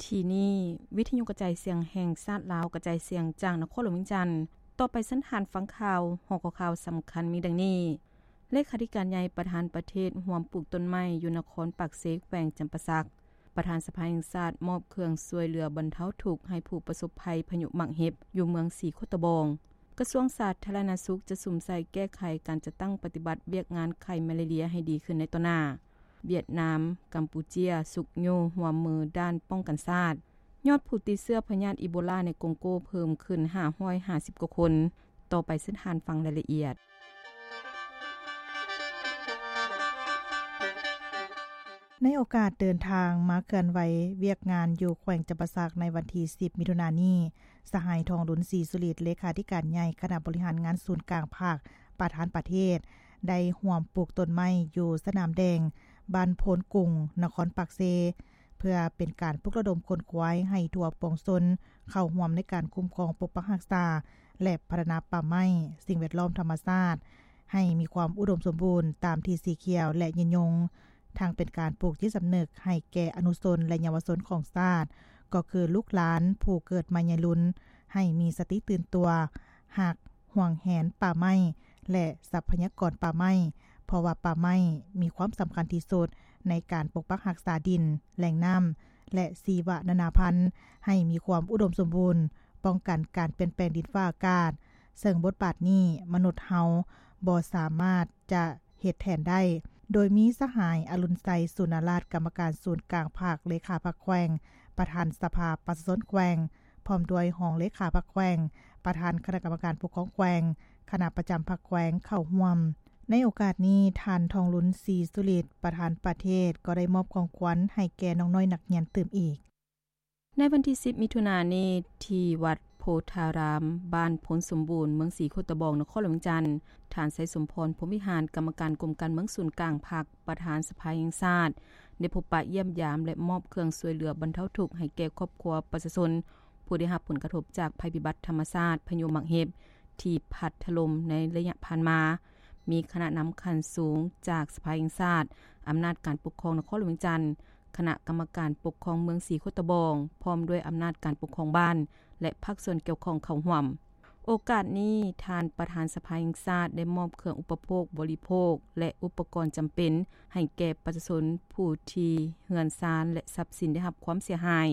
ທີ່ນີ້ ວິທະຍຸກະຈາຍສຽງແຫ່ງຊາດລາວ ກະຈາຍສຽງຈາກນະຄອນຫຼວງວຽງຈັນ. ຕໍ່ໄປເຊີນທ່ານຟັງຂ່າວ. ຫົວຂໍ້ຂ່າວສຳຄັນມີດັ່ງນີ້: ເລຂາທິການໃຫຍ່ປະທານປະເທດຮ່ວມປູກຕົ້ນໄມ້ຢູ່ນະຄອນປາກເຊ ແຂວງຈຳປາສັກ. ປະທານສະພາແຫ່ງຊາດມອບເຄື່ອງຊ່ວຍເຫຼືອບັນເທົາທຸກໃຫ້ຜູ້ປະສົບໄພພາຍຸໝາກເຫັບຢູ່ເມືອງສີໂຄດຕະບອງ. ກະຊວງສາທາລະນະສຸກຈະສຸມໃສ່ແກ້ໄຂການຈັດຕັ້ງປະຕິບັດວຽກງານໄຂ້ມາລາເຣຍໃຫ້ດີຂຶ້ນໃນຕໍ່ໜ້າ. ຫວຽດນາມ, ກຳປູເຈຍ ຊຸກຍູ້ຮ່ວມມືດ້ານປ້ອງກັນຊາດ. ຍອດຜູ້ຕິດເຊື້ອພະຍາດອີໂບລາໃນກົງໂກເພີ່ມຂຶ້ນຫ້າຮ້ອຍຫ້າສິບກວ່າຄົນ. ຕໍ່ໄປເຊີນທ່ານຟັງລາຍລະອຽດ. ໃນໂອກາດເດີນທາງມາເຄື່ອນໄຫວວຽກງານຢູ່ແຂວງຈຳປາສັກໃນວັນທີສິບ ມິຖຸນານີ້, ສະຫາຍ ທອງລຸນ ສີສຸລິດ ເລຂາທິການໃຫຍ່ຄະນະບໍລິຫານງານສູນກາງພັກ ປະທານປະເທດ ໄດ້ຮ່ວມປູກຕົ້ນໄມ້ຢູ່ສະໜາມແດງ ບ້ານໂພນກຸງ ນະຄອນປາກເຊ ເພື່ອເປັນການປຸກລະດົມຂົນຂວາຍໃຫ້ທົ່ວປວງຊົນເຂົ້າຮ່ວມໃນການຄຸ້ມຄອງ, ປົກປັກຮັກສາ ແລະ ພັດທະນາປ່າໄມ້, ສິ່ງແວດລ້ອມ, ທຳມະຊາດ ໃຫ້ມີຄວາມອຸດົມສົມບູນຕາມທີ່ສີຂຽວ ແລະ ຍືນຍົງ, ທັງເປັນການປູກຈິດສຳນຶກໃຫ້ແກ່ອະນຸຊົນ ແລະ ເຍົາວະຊົນຂອງຊາດ, ກໍຄືລູກຫຼານຜູ້ເກີດໃໝ່ໃຫຍ່ລຸນ ໃຫ້ມີສະຕິຕື່ນຕົວ, ຮັກ, ຫວງແຫນປ່າໄມ້ ແລະ ຊັບພະຍາກອນປ່າໄມ້, ເພາະວ່າປ່າໄມ້ມີຄວາມສຳຄັນທີ່ສຸດໃນການປົກປັກຮັກສາດິນ, ແຫຼ່ງນ້ຳ ແລະ ຊີວະນານາພັນ ໃຫ້ມີຄວາມອຸດົມສົມບູນ, ປ້ອງກັນການປ່ຽນແປງດິນຟ້າອາກາດ, ເຊິ່ງບົດບາດນີ້ມະນຸດເຮົາບໍ່ສາມາດຈະເຮັດແທນໄດ້. ໂດຍມີສະຫາຍ ອະລຸນໄຊ ສູນນາລາດ ກຳມະການສູນກາງພັກ, ເລຂາພັກແຂວງ, ປະທານສະພາປະຊາຊົນແຂວງ, ພ້ອມດ້ວຍຮອງເລຂາພັກແຂວງ, ປະທານຄະນະກຳມະການປົກຄອງແຂວງ, ຄະນະປະຈຳພັກແຂວງເຂົ້າຮ່ວມ. ໃນໂອກາດນີ້, ທ່ານ ທອງລຸນ ສີສຸລິດ ປະທານປະເທດ ກໍໄດ້ມອບຂອງຂວັນໃຫ້ແກ່ນ້ອງນ້ອຍນັກຮຽນຕື່ມອີກ. ໃນວັນທີສິບ ມິຖຸນານີ້, ທີ່ວັດໂພທາຣາມ, ບ້ານໂພນສົມບູນ, ເມືອງສີໂຄດຕະບອງ, ນະຄອນຫຼວງວຽງຈັນ, ທ່ານ ໄຊສົມພອນ ພົມວິຫານ, ກຳມະການກົມການເມືອງສູນກາງພັກ, ປະທານສະພາແຫ່ງຊາດ ໄດ້ພົບປະຢ້ຽມຢາມ ແລະ ມອບເຄື່ອງຊ່ວຍເຫຼືອບັນເທົາທຸກໃຫ້ແກ່ຄອບຄົວປະຊາຊົນ ຜູ້ໄດ້ຮັບຜົນກະທົບຈາກໄພພິບັດທຳມະຊາດ ພາຍຸໝາກເຫັບ ທີ່ພັດຖະຫຼົ່ມໃນໄລຍະຜ່ານມາ. ມີຄະນະນຳຂັ້ນສູງຈາກສະພາແຫ່ງຊາດ, ອຳນາດການປົກຄອງນະຄອນຫຼວງວຽງຈັນ, ຄະນະກຳມະການປົກຄອງເມືອງສີໂຄດຕະບອງ, ພ້ອມດ້ວຍອຳນາດການປົກຄອງບ້ານ ແລະ ພາກສ່ວນກ່ຽວຂ້ອງເຂົ້າຮ່ວມ. ໂອກາດນີ້, ທ່ານປະທານສະພາແຫ່ງຊາດໄດ້ມອບເຄື່ອງອຸປະໂພກບໍລິໂພກ ແລະ ອຸປະກອນຈຳເປັນໃຫ້ແກ່ປະຊາຊົນຜູ້ທີ່ເຮືອນຊານ ແລະ ຊັບສິນໄດ້ຮັບຄວາມເສຍຫາຍ,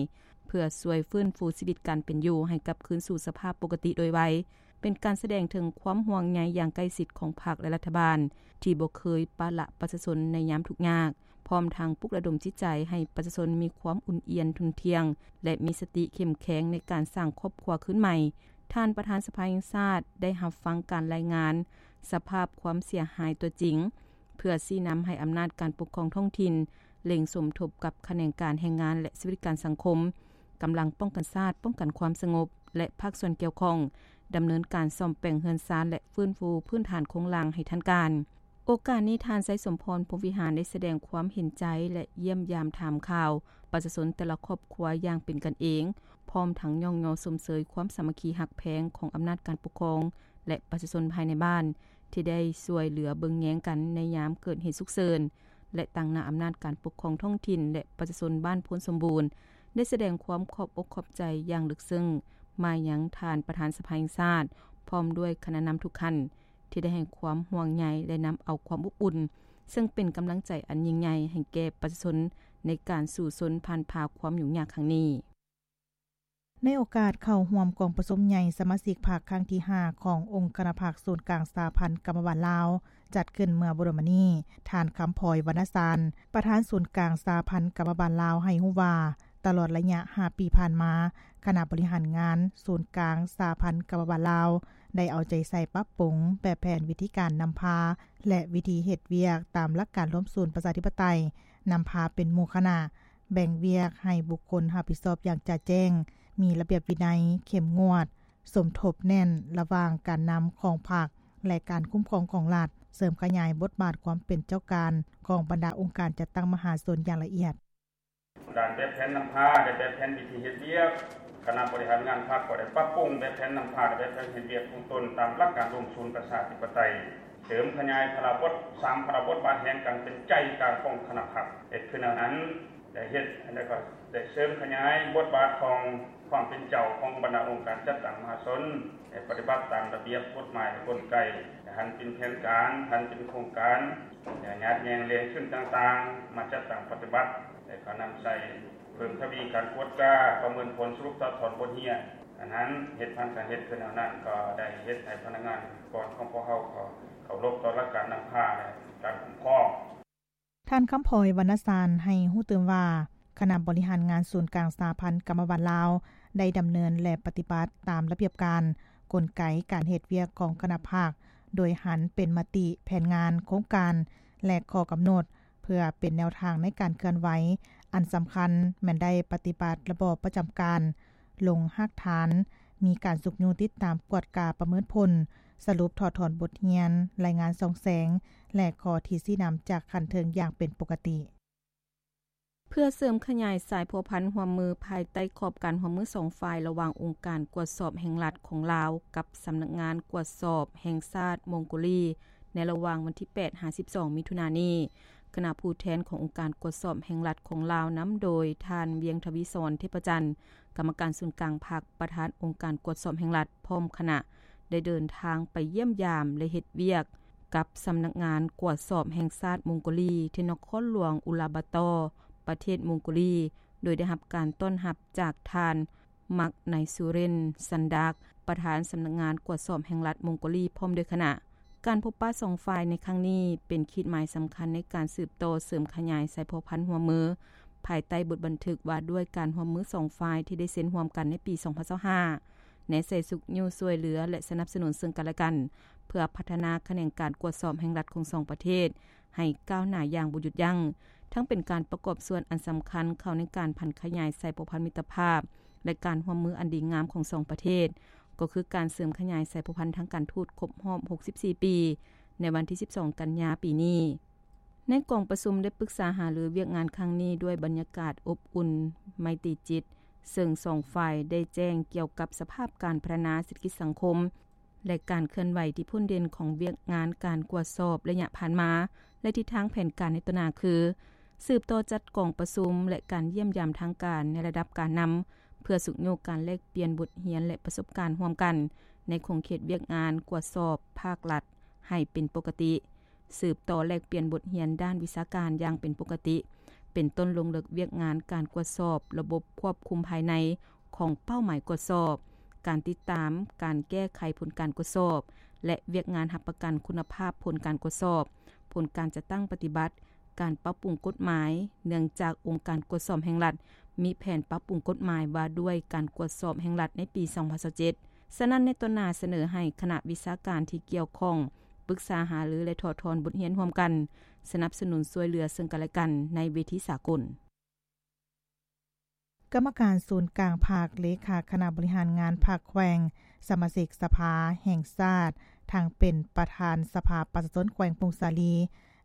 ເພື່ອຊ່ວຍຟື້ນຟູຊີວິດການເປັນຢູ່ໃຫ້ກັບຄືນສູ່ສະພາບປົກກະຕິໂດຍໄວ, ເປັນການສະແດງເຖິງຄວາມຫ່ວງໃຍຢ່າງໃກ້ຊິດຂອງພັກ ແລະ ລັດຖະບານ ທີ່ບໍ່ເຄີຍປະລະປະຊາຊົນໃນຍາມທຸກຍາກ, ພ້ອມທັງປຸກລະດົມຈິດໃຈໃຫ້ປະຊາຊົນມີຄວາມອຸ່ນອຽນ, ທຸ່ນທ່ຽງ ແລະ ມີສະຕິເຂັ້ມແຂງໃນການສ້າງຄອບຄົວຄືນໃໝ່. ທ່ານປະທານສະພາແຫ່ງຊາດໄດ້ຮັບຟັງການລາຍງານສະພາບຄວາມເສຍຫາຍຕົວຈິງ, ເພື່ອຊີ້ນຳໃຫ້ອຳນາດການປົກຄອງທ້ອງຖິ່ນ ເລັ່ງສົມທົບກັບຂະແໜງການແຮງງານ ແລະ ສະຫວັດດີການສັງຄົມ, ກຳລັງປ້ອງກັນຊາດ, ປ້ອງກັນຄວາມສະຫງົບ ແລະ ພາກສ່ວນກ່ຽວຂ້ອງ ດຳເນີນການສ້ອມແປງເຮືອນຊານ ແລະ ຟື້ນຟູພື້ນຖານໂຄງລ່າງໃຫ້ທັນການ. ໂອກາດນີ້, ທ່ານ ໄຊສົມພອນ ພົມວິຫານ ໄດ້ສະແດງຄວາມເຫັນໃຈ ແລະ ຢ້ຽມຢາມຖາມຂ່າວປະຊາຊົນແຕ່ລະຄອບຄົວຢ່າງເປັນກັນເອງ, ພ້ອມທັງຍ້ອງຍໍຊົມເຊີຍຄວາມສາມັກຄີຮັກແພງຂອງອຳນາດການປົກຄອງ ແລະ ປະຊາຊົນພາຍໃນບ້ານ ທີ່ໄດ້ຊ່ວຍເຫຼືອເບິ່ງແຍງກັນໃນຍາມເກີດເຫດສຸກເສີນ ແລະ ຕາງໜ້າອຳນາດການປົກຄອງທ້ອງຖິ່ນ ແລະ ປະຊາຊົນບ້ານໂພນສົມບູນ ໄດ້ສະແດງຄວາມຂອບອົກຂອບໃຈຢ່າງເລິກເຊິ່ງມາຍັງທ່ານປະທານສະພາແຫ່ງຊາດ ພ້ອມດ້ວຍຄະນະນຳທຸກທ່ານ ທີ່ໄດ້ໃຫ້ຄວາມຫ່ວງໃຍ ແລະ ນຳເອົາຄວາມອົບອຸ່ນ, ເຊິ່ງເປັນກຳລັງໃຈອັນຍິ່ງໃຫຍ່ໃຫ້ແກ່ປະຊາຊົນໃນການສູ້ຊົນຜ່ານຜ່າຄວາມຫຍຸ້ງຍາກຄັ້ງນີ້. ໃນໂອກາດເຂົ້າຮ່ວມກອງປະຊຸມໃຫຍ່ສະມາຊິກພັກຄັ້ງທີຫ້າ ຂອງອົງຄະນະພັກສູນກາງສະຫະພັນກຳມະບານລາວ ຈັດຂຶ້ນເມື່ອບໍ່ດົນມານີ້, ທ່ານ ຄຳພອຍ ວັນນະສານ ປະທານສູນກາງສະຫະພັນກຳມະບານລາວ ໃຫ້ຮູ້ວ່າ ຕະຫຼອດໄລຍະຫ້າປີຜ່ານມາ, ຄະນະບໍລິຫານງານສູນກາງສະຫະພັນກຳມະບານລາວ ໄດ້ເອົາໃຈໃສ່ປັບປຸງແບບແຜນ, ວິທີການນຳພາ ແລະ ວິທີເຮັດວຽກຕາມຫຼັກການລວມສູນປະຊາທິປະໄຕ, ນຳພາເປັນໝູ່ຄະນະ, ແບ່ງວຽກໃຫ້ບຸກຄົນຮັບຜິດຊອບຢ່າງຈະແຈ້ງ, ມີລະບຽບວິໄນ, ເຂັ້ມງວດ, ສົມທົບແໜ້ນລະຫວ່າງການນຳຂອງພັກ ແລະ ການຄຸ້ມຄອງຂອງລັດ, ເສີມຂະຫຍາຍບົດບາດຄວາມເປັນເຈົ້າການຂອງບັນດາອົງການຈັດຕັ້ງມະຫາຊົນຢ່າງລະອຽດ. ດ້ານແບບແຜນນຳພາ ແລະ ແບບແຜນວິທີເຮັດວຽກ, ຄະນະບໍລິຫານງານພັກກໍໄດ້ປັບປຸງແບບແຜນນຳພາ ແລະ ແບບແຜນເຮັດວຽກຂອງຕົນຕາມຫຼັກການລວມສູນປະຊາທິປະໄຕ, ເສີມຂະຫຍາຍພາລະບົດ, ສາມພາລະບົດບາດແຫ່ງກັນເປັນໃຈກາງຂອງຄະນະພັກ. ເຮັດຄືແນວນັ້ນ, ໄດ້ເຮັດ ແລ້ວກໍໄດ້ເສີມຂະຫຍາຍບົດບາດຂອງຄວາມເປັນເຈົ້າຂອງບັນດາອົງການຈັດຕັ້ງມະຫາຊົນ ໃຫ້ປະຕິບັດຕາມລະບຽບກົດໝາຍ ແລະ ກົນໄກ ໃຫ້ຫັນເປັນແຜນການ, ຫັນເປັນໂຄງການ ແລະ ຍາດແຍ່ງແຫຼ່ງທຶນຕ່າງໆ ມາຈັດຕັ້ງປະຕິບັດ ແລະ ກໍນຳໃຊ້ເພີ່ມທະວີການກວດກາ, ປະເມີນຜົນ, ສະຫຼຸບຖອດຖອນບົດຮຽນ, ອັນນັ້ນເຮັດຜ່ານການເຮັດຄືແນວນັ້ນ ກໍໄດ້ເຮັດໃຫ້ພະນັກງານອົງກອນຂອງພວກເຮົາ ກໍເຄົາລົບຕໍ່ຫຼັກການນຳພາ ແລະ ການຄຸ້ມຄອງ. ທ່ານ ຄຳພອຍ ວັນນະຊານ ໃຫ້ຮູ້ຕື່ມວ່າ ຄະນະບໍລິຫານງານສູນກາງສະຫະພັນກຳມະບານລາວ ໄດ້ດຳເນີນ ແລະ ປະຕິບັດຕາມລະບຽບການ, ກົນໄກການເຮັດວຽກຂອງຄະນະພັກ ໂດຍຫັນເປັນມະຕິ, ແຜນງານ, ໂຄງການ ແລະ ຂໍ້ກຳນົດ ເພື່ອເປັນແນວທາງໃນການເຄື່ອນໄຫວ. ອັນສຳຄັນແມ່ນໄດ້ປະຕິບັດລະບອບປະຈຳການ, ລົງຮາກຖານ, ມີການຊຸກຍູ້ຕິດຕາມກວດກາປະເມີນຜົນ, ສະຫຼຸບຖອດຖອນບົດຮຽນ, ລາຍງານສ່ອງແສງ ແລະ ຂໍ້ທີ່ຊີ້ນຳຈາກຂັ້ນເທິງຢ່າງເປັນປົກກະຕິ. ເພື່ອເສີມຂະຫຍາຍສາຍພົວພັນຮ່ວມມືພາຍໃຕ້ຂອບການຮ່ວມມືສອງຝ່າຍ ລະຫວ່າງອົງການກວດສອບແຫ່ງລັດຂອງລາວ ກັບສຳນັກງານກວດສອບແຫ່ງຊາດມົງໂກລີ ໃນລະຫວ່າງວັນທີແປດຫາສິບສອງມິຖຸນານີ້, ຄະນະຜູ້ແທນຂອງອົງການກວດສອບແຫ່ງລັດຂອງລາວ ນຳໂດຍທ່ານ ວຽງທະວີສອນ ເທບພະຈັນ ກຳມະການສູນກາງພັກ, ປະທານອົງການກວດສອບແຫ່ງລັດ ພ້ອມຄະນະ ໄດ້ເດີນທາງໄປຢ້ຽມຢາມ ແລະ ເຮັດວຽກກັບສຳນັກງານກວດສອບແຫ່ງຊາດມົງໂກລີ ທີ່ນະຄອນຫຼວງອຸລາບາຕໍ, ປະເທດມົງໂກລີ, ໂດຍໄດ້ຮັບການຕ້ອນຮັບຈາກທ່ານ ມັກໄນຊູເຣນ ຊັນດັກ ປະທານສຳນັກງານກວດສອບແຫ່ງລັດມົງໂກລີ ພ້ອມດ້ວຍຄະນະ. ການພົບປະສອງຝ່າຍໃນຄັ້ງນີ້ ເປັນຂີດໝາຍສຳຄັນໃນການສືບຕໍ່ເສີມຂະຫຍາຍສາຍພົວພັນຮ່ວມມື ພາຍໃຕ້ບົດບັນທຶກວ່າດ້ວຍການຮ່ວມມືສອງຝ່າຍ ທີ່ໄດ້ເຊັນຮ່ວມກັນໃນປີສອງພັນຊາວຫ້າ ແນໃສ່ຊຸກຍູ້ຊ່ວຍເຫຼືອ ແລະ ສະໜັບສະໜູນເຊິ່ງກັນແລະກັນ ເພື່ອພັດທະນາຂະແໜງການກວດສອບແຫ່ງລັດຂອງສອງປະເທດ ໃຫ້ກ້າວໜ້າຢ່າງບໍ່ຢຸດຢັ້ງ, ທັງເປັນການປະກອບສ່ວນອັນສຳຄັນເຂົ້າໃນການຜັນຂະຫຍາຍສາຍພົວພັນມິດຕະພາບ ແລະ ການຮ່ວມມືອັນດີງາມຂອງສອງປະເທດ, ກໍຄືການເສີມຂະຫຍາຍສາຍພົວພັນທາງການທູດຄົບຮອບຫົກສິບສີ່ປີ ໃນວັນທີສິບສອງກັນຍາປີນີ້. ໃນກອງປະຊຸມໄດ້ປຶກສາຫາລືວຽກງານຄັ້ງນີ້ດ້ວຍບັນຍາກາດອົບອຸ່ນໄມຕີຈິດ, ເຊິ່ງສອງຝ່າຍໄດ້ແຈ້ງກ່ຽວກັບສະພາບການພັດທະນາເສດຖະກິດສັງຄົມ ແລະ ການເຄື່ອນໄຫວທີ່ພົ້ນເດັ່ນຂອງວຽກງານການກວດສອບໄລຍະຜ່ານມາ ແລະ ທິດທາງແຜນການໃນຕໍ່ໜ້າຄື ສືບຕໍ່ຈັດກອງປະຊຸມ ແລະ ການຢ້ຽມຢາມທາງການໃນລະດັບການນຳ ເພື່ອຊຸກຍູ້ການແລກປ່ຽນບົດຮຽນ ແລະ ປະສົບການຮ່ວມກັນ ໃນຂົງເຂດວຽກງານກວດສອບພາກລັດໃຫ້ເປັນປົກກະຕິ, ສືບຕໍ່ແລກປ່ຽນບົດຮຽນດ້ານວິຊາການຢ່າງເປັນປົກກະຕິ, ເປັນຕົ້ນລົງເລິກວຽກງານການກວດສອບລະບົບຄວບຄຸມພາຍໃນຂອງເປົ້າໝາຍກວດສອບ, ການຕິດຕາມ, ການແກ້ໄຂຜົນການກວດສອບ ແລະ ວຽກງານຮັບປະກັນຄຸນນະພາບຜົນການກວດສອບ, ຜົນການຈັດຕັ້ງປະຕິບັດ, ການປັບປຸງກົດໝາຍ, ເນື່ອງຈາກອົງການກວດສອບແຫ່ງລັດ ມີແຜນປັບປຸງກົດໝາຍວ່າດ້ວຍການກວດສອບແຫ່ງລັດໃນປີສອງພັນຊາວເຈັດ. ສະນັ້ນ ໃນຕໍ່ໜ້າສະເໜີໃຫ້ຄະນະວິຊາການທີ່ກ່ຽວຂ້ອງປຶກສາຫາລື ແລະ ຖອດຖອນບົດຮຽນຮ່ວມກັນ, ສະໜັບສະໜູນຊ່ວຍເຫຼືອເຊິ່ງກັນແລະກັນໃນເວທີສາກົນ. ກຳມະການສູນກາງພັກ, ເລຂາຄະນະບໍລິຫານງານພັກແຂວງ, ສະມາຊິກສະພາແຫ່ງຊາດ, ທັງເປັນປະທານສະພາປະຊາຊົນແຂວງຜົ້ງສາລີ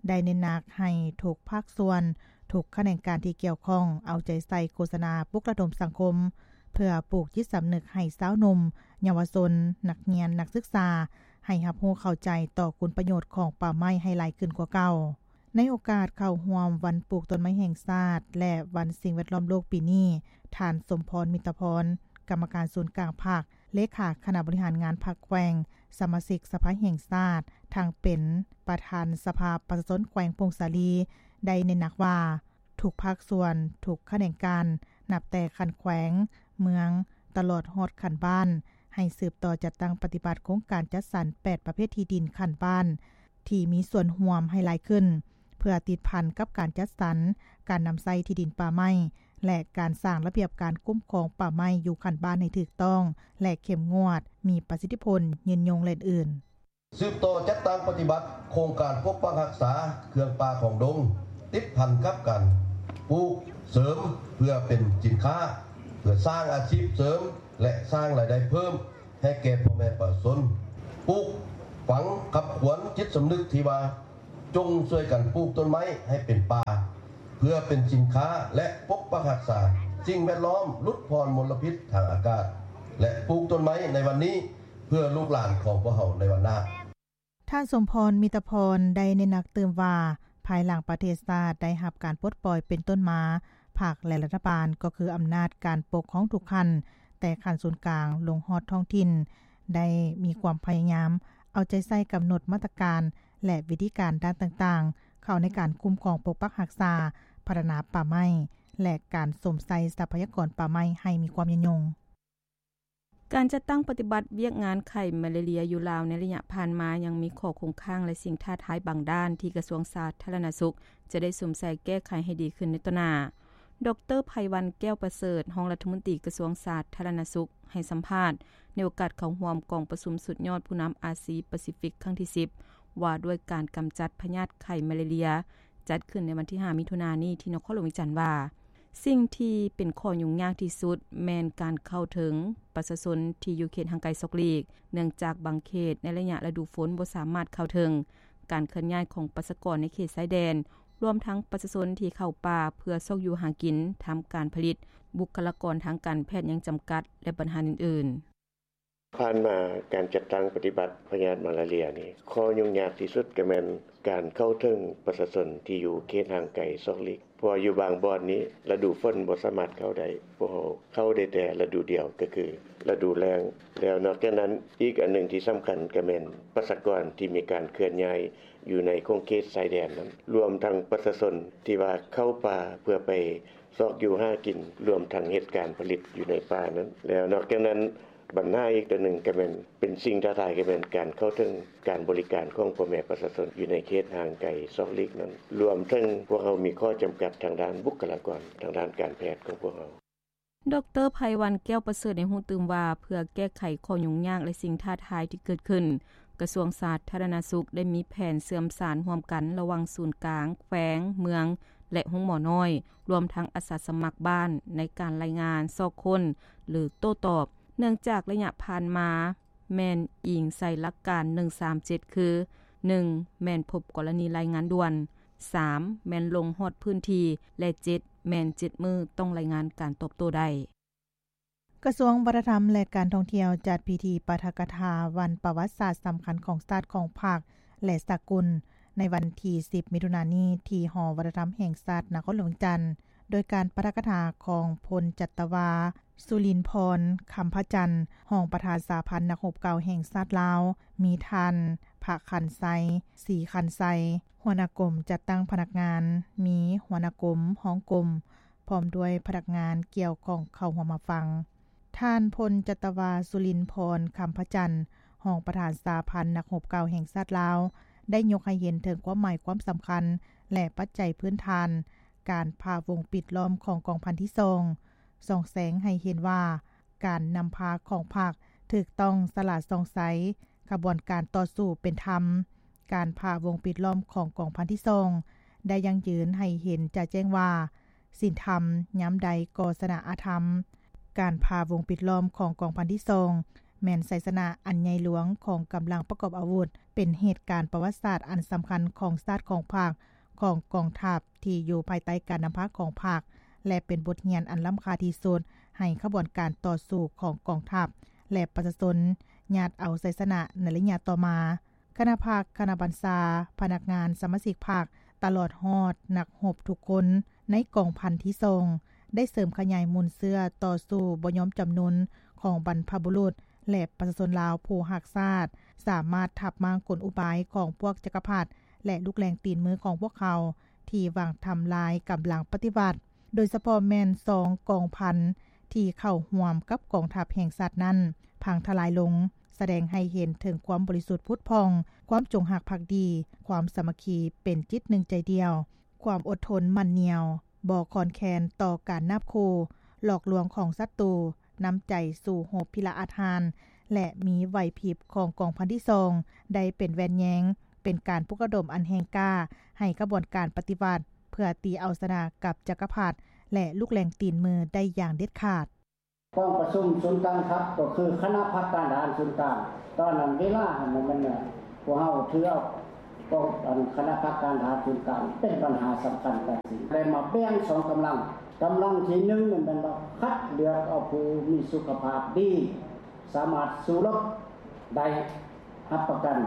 ໄດ້ເນັ້ນໜັກໃຫ້ທຸກພາກສ່ວນ, ທຸກຂະແໜງການທີ່ກ່ຽວຂ້ອງ ເອົາໃຈໃສ່ໂຄສະນາປຸກລະດົມສັງຄົມ ເພື່ອປູກຈິດສຳນຶກໃຫ້ຊາວໜຸ່ມ, ເຍົາວະຊົນ, ນັກຮຽນ, ນັກສຶກສາ ໃຫ້ຮັບຮູ້ເຂົ້າໃຈຕໍ່ຄຸນປະໂຫຍດຂອງປ່າໄມ້ໃຫ້ຫຼາຍຂຶ້ນກວ່າເກົ່າ. ໃນໂອກາດເຂົ້າຮ່ວມວັນປູກຕົ້ນໄມ້ແຫ່ງຊາດ ແລະ ວັນສິ່ງແວດລ້ອມໂລກປີນີ້, ທ່ານ ສົມພອນ ມິດຕະພອນ ກຳມະການສູນກາງພັກ, ເລຂາຄະນະບໍລິຫານງານພັກແຂວງ, ສະມາຊິກສະພາແຫ່ງຊາດ, ທັງເປັນປະທານສະພາປະຊາຊົນແຂວງຜົ້ງສາລີ ໄດ້ເນັ້ນໜັກວ່າ ທຸກພາກສ່ວນ, ທຸກຂະແໜງການ, ນັບແຕ່ຂັ້ນແຂວງ, ເມືອງ, ຕະຫຼອດຮອດຂັ້ນບ້ານ, ໃຫ້ສືບຕໍ່ຈັດຕັ້ງປະຕິບັດໂຄງການຈັດສັນແປດປະເພດທີ່ດິນຂັ້ນບ້ານ ທີ່ມີສ່ວນຮ່ວມໃຫ້ຫຼາຍຂຶ້ນ, ເພື່ອຕິດພັນກັບການຈັດສັນ, ການນຳໃຊ້ທີ່ດິນປ່າໄມ້ ແລະ ການສ້າງລະບຽບການຄຸ້ມຄອງປ່າໄມ້ຢູ່ຂັ້ນບ້ານໃຫ້ຖືກຕ້ອງ ແລະ ເຂັ້ມງວດ, ມີປະສິດທິຜົນ, ຍືນຍົງ ແລະ ອື່ນໆ. ສືບຕໍ່ຈັດຕັ້ງປະຕິບັດໂຄງການປົກປັກຮັກສາເຄື່ອງປ່າຂອງດົງ ຕິດພັນກັບການປູກເສີມເພື່ອເປັນສິນຄ້າ, ເພື່ອສ້າງອາຊີບເສີມ ແລະ ສ້າງລາຍໄດ້ເພີ່ມ ໃຫ້ແກ່ພໍ່ແມ່ປະຊາຊົນ. ປູກຝັງຂັບຂວັນຈິດສຳນຶກທີ່ວ່າ ຈົ່ງຊ່ວຍກັນປູກຕົ້ນໄມ້ໃຫ້ເປັນປ່າ ເພື່ອເປັນສິນຄ້າ ແລະ ປົກປັກຮັກສາສິ່ງແວດລ້ອມ, ຫຼຸດຜ່ອນມົນລະພິດທາງອາກາດ ແລະ ປູກຕົ້ນໄມ້ໃນວັນນີ້ ເພື່ອລູກຫຼານຂອງພວກເຮົາໃນວັນໜ້າ. ທ່ານ ສົມພອນ ມິດຕະພອນ ໄດ້ເນັ້ນໜັກຕື່ມວ່າ ພາຍຫຼັງປະເທດຊາດໄດ້ຮັບການປົດປ່ອຍເປັນຕົ້ນມາ, ພັກ ແລະ ລັດຖະບານ ກໍຄືອຳນາດການປົກຄອງທຸກຂັ້ນ, ແຕ່ຂັ້ນສູນກາງລົງຮອດທ້ອງຖິ່ນ ໄດ້ມີຄວາມພະຍາຍາມເອົາໃຈໃສ່ກຳນົດມາດຕະການ ແລະ ວິທີການດ້ານຕ່າງໆ ເຂົ້າໃນການຄຸ້ມຄອງປົກປັກຮັກສາ, ພັດທະນາປ່າໄມ້ ແລະ ການຊົມໃຊ້ຊັບພະຍາກອນປ່າໄມ້ໃຫ້ມີຄວາມຍືນຍົງ. ການຈັດຕັ້ງປະຕິບັດວຽກງານໄຂ້ມາລາເຣຍຢູ່ລາວໃນໄລຍະຜ່ານມາ ຍັງມີຂໍ້ຄົງຄ້າງ ແລະ ສິ່ງທ້າທາຍບາງດ້ານ ທີ່ກະຊວງສາທາລະນະສຸກຈະໄດ້ສຸມໃສ່ແກ້ໄຂໃຫ້ດີຂຶ້ນໃນຕໍ່ໜ້າ. ດອກເຕີ ໄພວັນ ແກ້ວປະເສີດ, ຮອງລັດຖະມົນຕີກະຊວງສາທາລະນະສຸກ, ໃຫ້ສຳພາດໃນໂອກາດເຂົ້າຮ່ວມກອງປະຊຸມສຸດຍອດຜູ້ນຳອາຊີປາຊີຟິກຄັ້ງທີສິບ ວ່າດ້ວຍການກຳຈັດພະຍາດໄຂ້ມາລາເຣຍ, ຈັດຂຶ້ນໃນວັນທີຫ້າ ມິຖຸນານີ້ ທີ່ນະຄອນຫຼວງວຽງຈັນວ່າ ສິ່ງທີ່ເປັນຂໍ້ຫຍຸ້ງຍາກທີ່ສຸດແມ່ນການເຂົ້າເຖິງປະຊາຊົນທີ່ຢູ່ເຂດຫ່າງໄກສອກຫຼີກ, ເນື່ອງຈາກບາງເຂດໃນໄລຍະລະດູຝົນບໍ່ສາມາດເຂົ້າເຖິງ, ການເຄື່ອນຍ້າຍຂອງປະຊາກອນໃນເຂດຊາຍແດນ, ລວມທັງປະຊາຊົນທີ່ເຂົ້າປ່າເພື່ອຊອກຢູ່ຫາກິນ, ທຳການຜະລິດ, ບຸກຄະລາກອນທາງການແພດຍັງຈຳກັດ ແລະ ບັນຫາອື່ນໆ. ຜ່ານມາການຈັດຕັ້ງປະຕິບັດພະຍາດມາລາເຣຍນີ້ ຂໍ້ຫຍຸ້ງຍາກທີ່ສຸດກໍແມ່ນການເຂົ້າເຖິງປະຊາຊົນທີ່ຢູ່ເຂດຫ່າງໄກສອກຫຼີກ, ເພາະວ່າຢູ່ບາງບ່ອນນີ້ລະດູຝົນບໍ່ສາມາດເຂົ້າໄດ້, ພວກເຮົາເຂົ້າໄດ້ແຕ່ລະດູດຽວ ກໍຄືລະດູແລ້ງ. ແລ້ວນອກຈາກນັ້ນ ອີກອັນໜຶ່ງທີ່ສຳຄັນກໍແມ່ນປະຊາກອນທີ່ມີການເຄື່ອນຍ້າຍຢູ່ໃນຂົງເຂດຊາຍແດນນັ້ນ, ລວມທັງປະຊາຊົນທີ່ວ່າເຂົ້າປ່າເພື່ອໄປຊອກຢູ່ຫາກິນ, ລວມທັງເຮັດການຜະລິດຢູ່ໃນປ່ານັ້ນ. ແລ້ວນອກຈາກນັ້ນ ບັນຫາອີກຕົວໜຶ່ງກໍແມ່ນເປັນສິ່ງທ້າທາຍ ກໍແມ່ນການເຂົ້າເຖິງການບໍລິການຂອງພໍ່ແມ່ປະຊາຊົນຢູ່ໃນເຂດຫ່າງໄກສອກຫຼີກນັ້ນ, ລວມເຖິງພວກເຮົາມີຂໍ້ຈຳກັດທາງດ້ານບຸກຄະລາກອນ, ທາງດ້ານການແພດຂອງພວກເຮົາ. ດອກເຕີ ໄພວັນ ແກ້ວປະເສີດ ໃຫ້ຮູ້ຕື່ມວ່າ ເພື່ອແກ້ໄຂຂໍ້ຫຍຸ້ງຍາກ ແລະ ສິ່ງທ້າທາຍທີ່ເກີດຂຶ້ນ, ກະຊວງສາທາລະນະສຸກໄດ້ມີແຜນເຊື່ອມສານຮ່ວມກັນລະຫວ່າງສູນກາງ, ແຂວງ, ເມືອງ ແລະ ໂຮງໝໍນ້ອຍ, ລວມທັງອາສາສະໝັກບ້ານ ໃນການລາຍງານຊອກຄົ້ນ ຫຼື ໂຕ້ຕອບ, ເນື່ອງຈາກໄລຍະຜ່ານມາແມ່ນອີງໃສ່ຫຼັກການໜຶ່ງສາມເຈັດ ຄື ໜຶ່ງ ແມ່ນພົບກໍລະນີລາຍງານດ່ວນ, ສາມ ແມ່ນລົງຮອດພື້ນທີ່ ແລະ ເຈັດ ແມ່ນເຈັດມື້ຕ້ອງລາຍງານການຕອບໂຕ້ໄດ້. ກະຊວງວັດທະນະທຳ ແລະ ການທ່ອງທ່ຽວ ຈັດພິທີປາຖະກະຖາວັນປະຫວັດສາດສຳຄັນຂອງຊາດ, ຂອງພັກ ແລະ ສາກົນ ໃນວັນທີສິບ ມິຖຸນານີ້ ທີ່ຫໍວັດທະນະທຳແຫ່ງຊາດ ນະຄອນຫຼວງວຽງຈັນ, ໂດຍການປາຖະກະຖາຂອງພົນຈັດຕະວາ ສຸລິນພອນ ຄຳພະຈັນ, ຮອງປະທານສະຫະພັນນັກຮົບເກົ່າແຫ່ງຊາດລາວ, ມີທ່ານ ພະຄັນໄຊ ສີຄັນໄຊ, ຫົວໜ້າກົມຈັດຕັ້ງພະນັກງານ, ມີຫົວໜ້າກົມ, ຮອງກົມ, ພ້ອມດ້ວຍພະນັກງານກ່ຽວຂ້ອງເຂົ້າຮ່ວມຮັບຟັງ. ທ່ານ ພົນຈັດຕະວາ ສຸລິນພອນ ຄຳພະຈັນ, ຮອງປະທານສະຫະພັນນັກຮົບເກົ່າແຫ່ງຊາດລາວ, ໄດ້ຍົກໃຫ້ເຫັນເຖິງຄວາມໝາຍຄວາມສຳຄັນ ແລະ ປັດໄຈພື້ນຖານການຜ່າວົງປິດລ້ອມຂອງກອງພັນທີສອງ, ສ່ອງແສງໃຫ້ເຫັນວ່າ ການນຳພາຂອງພັກຖືກຕ້ອງ, ສະຫຼາດສ່ອງໃສ, ຂະບວນການຕໍ່ສູ້ເປັນທຳ. ການຜ່າວົງປິດລ້ອມຂອງກອງພັນທີສອງ ໄດ້ຢັ້ງຢືນໃຫ້ເຫັນຈະແຈ້ງວ່າ ສິນທຳຍາມໃດກໍຊະນະອະທຳ. ການຜ່າວົງປິດລ້ອມຂອງກອງພັນທີສອງ ແມ່ນໄຊຊະນະອັນໃຫຍ່ຫຼວງຂອງກຳລັງປະກອບອາວຸດ, ເປັນເຫດການປະຫວັດສາດອັນສຳຄັນຂອງຊາດ, ຂອງພັກ, ຂອງກອງທັບທີ່ຢູ່ພາຍໃຕ້ການນຳພາຂອງພັກ ແລະ ເປັນບົດຮຽນອັນລ້ຳຄ່າທີ່ສຸດໃຫ້ຂະບວນການຕໍ່ສູ້ຂອງກອງທັບ ແລະ ປະຊາຊົນຍາດເອົາໄຊຊະນະໃນໄລຍະຕໍ່ມາ. ຄະນະພັກ, ຄະນະບັນຊາ, ພະນັກງານ, ສະມາຊິກພັກ, ຕະຫຼອດຮອດນັກຮົບທຸກຄົນໃນກອງພັນທີສອງ ໄດ້ເສີມຂະຫຍາຍມູນເຊື້ອຕໍ່ສູ້ບໍ່ຍອມຈຳນົນຂອງບັນພະບຸລຸດ ແລະ ປະຊາຊົນລາວຜູ້ຮັກຊາດ, ສາມາດທັບມ້າງກົນອຸບາຍຂອງພວກຈັກກະພັດ ແລະ ລູກແຫຼງຕີນມືຂອງພວກເຂົາ ທີ່ຫວັງທຳລາຍກຳລັງປະຕິວັດ, ໂດຍສະເພາະແມ່ນສອງກອງພັນທີ່ເຂົ້າຮ່ວມກັບກອງທັບແຫ່ງຊາດນັ້ນ ພັງທະລາຍລົງ, ສະແດງໃຫ້ເຫັນເຖິງຄວາມບໍລິສຸດຜຸດຜ່ອງ, ຄວາມຈົງຮັກພັກດີ, ຄວາມສາມັກຄີເປັນຈິດໜຶ່ງໃຈດຽວ, ຄວາມອົດທົນໝັ້ນໜຽວ, ບໍ່ຄອນແຄນຕໍ່ການນາບຂູ່, ຫຼອກລວງຂອງສັດຕູ, ນ້ຳໃຈສູ້ຮົບພິລະອາດຫານ ແລະ ມີໄຫວພິບຂອງກອງພັນທີສອງ ໄດ້ເປັນແວ່ນແຍງ, ເປັນການປຸກລະດົມອັນແຮງກ້າໃຫ້ຂະບວນການປະຕິວັດ ເພື່ອຕີເອົາຊະນະກັບຈັກກະພັດ ແລະ ລູກແຫຼງຕີນມືໄດ້ຢ່າງເດັດຂາດ. ກອງປະຊຸມສູນກາງທັບ ກໍຄືຄະນະພັກການທະຫານສູນກາງ. ຕອນນັ້ນເວລາຫັ້ນ ມັນ ພວກເຮົາຖືເອົາກອງ ອັນ ຄະນະພັກການທະຫານສູນກາງເປັນບັນຫາສຳຄັນກັນຊີ້ ໄດ້ມາແບ່ງສອງກຳລັງ. ກຳລັງທີໜຶ່ງນັ້ນແມ່ນວ່າຄັດເລືອກເອົາຜູ້ມີສຸຂະພາບດີ, ສາມາດສູ້ລົບໄດ້ ຮັບປະກັນ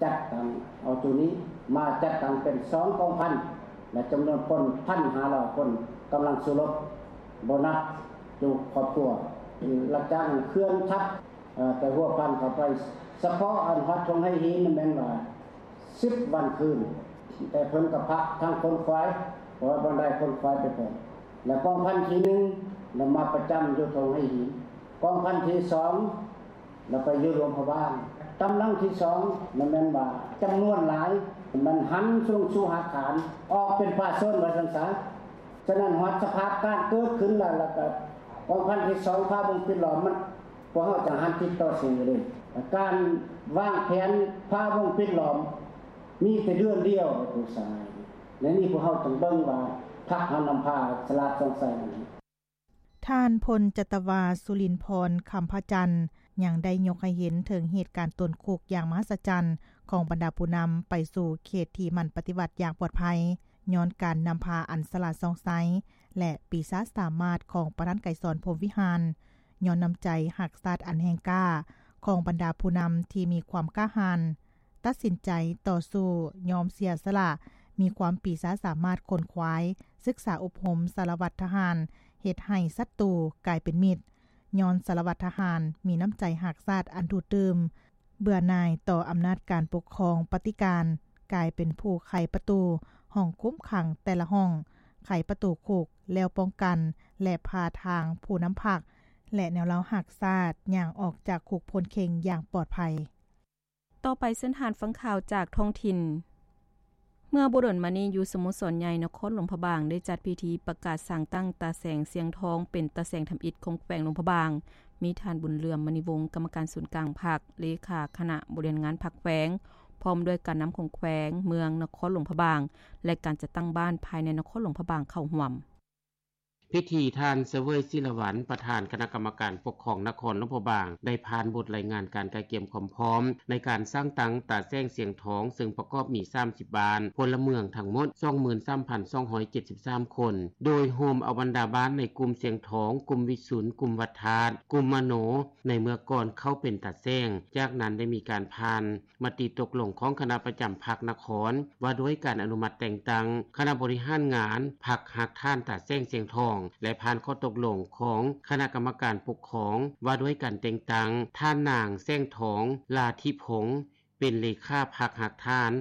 ຈັດຕັ້ງເອົາໂຕນີ້ມາຈັດຕັ້ງເປັນສອງກອງພັນ. ແລະຈຳນວນຄົນ ໜຶ່ງພັນຫ້າຮ້ອຍຄົນ ກຳລັງສູ້ລົບ ໂບນັສຢູ່ຄອບຄົວ ຫຼັງຈາກນັ້ນເຂື່ອນທັບ ເອີ່ ແຕ່ຫົວພັນເຂົ້າໄປ ສະເພາະອັນຮອດທົ່ງໄຫຫີນນັ້ນແມ່ນວ່າ ສິບວັນຄືນ ແຕ່ເພິ່ນກໍພັກທັງຂົນຄວາຍ ເພາະວ່າບໍ່ໄດ້ຂົນຄວາຍໄປເພິ່ນ ແລະກອງພັນທີໜຶ່ງນຳມາປະຈຳຢູ່ທົ່ງໄຫຫີນ ກອງພັນທີສອງ ແລ້ວໄປຢູ່ຫຼວງພະບາງ ກຳລັງທີສອງນັ້ນແມ່ນວ່າຈຳນວນຫຼາຍ ມັນຫັນສູ່ສຸຫາຄານ ອອກເປັນປ່າຊົນວ່າຊັ້ນສາ. ສະນັ້ນຮອດສະພາບການເກີດຂຶ້ນແລ້ວ ແລ້ວກໍກອງພັນທີສອງ ພາວົງປິດລ້ອມ ມັນ ພວກເຮົາຈະຫັນຕິດຕໍ່ສູ້ເລີຍ ການວາງແຜນພາວົງປິດລ້ອມ ມີແຕ່ເດືອນດຽວ ຜູ້ຊາຍ ໃນນີ້ພວກເຮົາຕ້ອງເບິ່ງວ່າ ພັກເຮົານຳພາສະຫຼາດສ່ອງໄຊ. ທ່ານ ພົນຈັດຕະວາ ສຸລິນພອນ ຄຳພະຈັນ ຍັງໄດ້ຍົກໃຫ້ເຫັນເຖິງເຫດການໂຕນຄຸກຢ່າງມະຫັດສະຈັນຂອງບັນດາຜູ້ນຳໄປສູ່ເຂດທີ່ມັນປະຕິວັດຢ່າງປອດໄພ ຍ້ອນການນຳພາອັນສະຫຼາດສ່ອງໄຊ ແລະ ປີຊາສາມາດຂອງປະທານໄກສອນ ພົມວິຫານ, ຍ້ອນນ້ຳໃຈຮັກຊາດອັນແຮງກ້າຂອງບັນດາຜູ້ນຳທີ່ມີຄວາມກ້າຫານ, ຕັດສິນໃຈຕໍ່ສູ້, ຍອມເສຍສະຫຼະ, ມີຄວາມປີຊາສາມາດຂົນຂວາຍ, ສຶກສາອົບຮົມສາລະວັດທະຫານ, ເຮັດໃຫ້ສັດຕູກາຍເປັນມິດ, ຍ້ອນສາລະວັດທະຫານມີນ້ຳໃຈຮັກຊາດອັນດູດດື່ມ, ເບື່ອໜ່າຍຕໍ່ອຳນາດການປົກຄອງປະຕິການ, ກາຍເປັນຜູ້ໄຂປະຕູຫ້ອງຄຸມຂັງແຕ່ລະຫ້ອງ, ໄຂປະຕູຄຸກແລ້ວປ້ອງກັນ ແລະ ພາທາງຜູ້ນຳພັກ ແລະ ແນວລາວຮັກຊາດຍ່າງອອກຈາກຄຸກພົ້ນເຄັ່ງຢ່າງປອດໄພ. ຕໍ່ໄປເຊີນທ່ານຟັງຂ່າວຈາກທ້ອງຖິ່ນ. ເມື່ອບໍ່ດົນມານີ້ ຢູ່ສະໂມສອນໃຫຍ່ນະຄອນຫຼວງພະບາງ ໄດ້ຈັດພິທີປະກາດສ້າງຕັ້ງຕາແສງ ສຽງທອງ ເປັນຕາແສງທຳອິດຂອງແຂວງຫຼວງພະບາງ, ມີທ່ານ ບຸນເຫຼືອມ ມະນີວົງ ກຳມະການສູນກາງພັກ, ເລຂາຄະນະບໍລິຫານງານພັກແຂວງ, ພ້ອມດ້ວຍການນຳຂອງແຂວງ, ເມືອງ, ນະຄອນຫຼວງພະບາງ ແລະ ການຈັດຕັ້ງບ້ານພາຍໃນນະຄອນຫຼວງພະບາງເຂົ້າຮ່ວມ. ພິທີ ທ່ານ ສະເຫວີຍ ສີລະວັນ ປະທານຄະນະກຳມະການປົກຄອງນະຄອນຫຼວງພະບາງ ໄດ້ຜ່ານບົດລາຍງານການກະກຽມຄວາມພ້ອມໃນການສ້າງຕັ້ງຕາແສງສຽງທອງ ເຊິ່ງປະກອບມີສາມສິບບ້ານ, ພົນລະເມືອງທັງໝົດສອງໝື່ນສາມພັນສອງຮ້ອຍເຈັດສິບສາມຄົນ, ໂດຍໂຮມເອົາບັນດາບ້ານໃນກຸ່ມສຽງທອງ, ກຸ່ມວິຊຸນ, ກຸ່ມວັດທາດ, ກຸ່ມມະໂນ ໃນເມື່ອກ່ອນເຂົ້າເປັນຕາແສງ. ຈາກນັ້ນໄດ້ມີການຜ່ານ ມະຕິຕົກລົງຂອງຄະນະປະຈຳພັກນະຄອນ ວ່າດ້ວຍການອະນຸມັດແຕ່ງຕັ້ງຄະນະບໍລິຫານງານພັກຮາກຖານຕາແສງສຽງທອງ ແລະ ຜ່ານຂໍ້ຕົກລົງຂອງຄະນະກຳມະການປົກຄອງ ວ່າດ້ວຍການແຕ່ງຕັ້ງທ່ານນາງ ແສງທອງ ລາທິພົງ ເປັນເລຂາພັກຮາກຖານ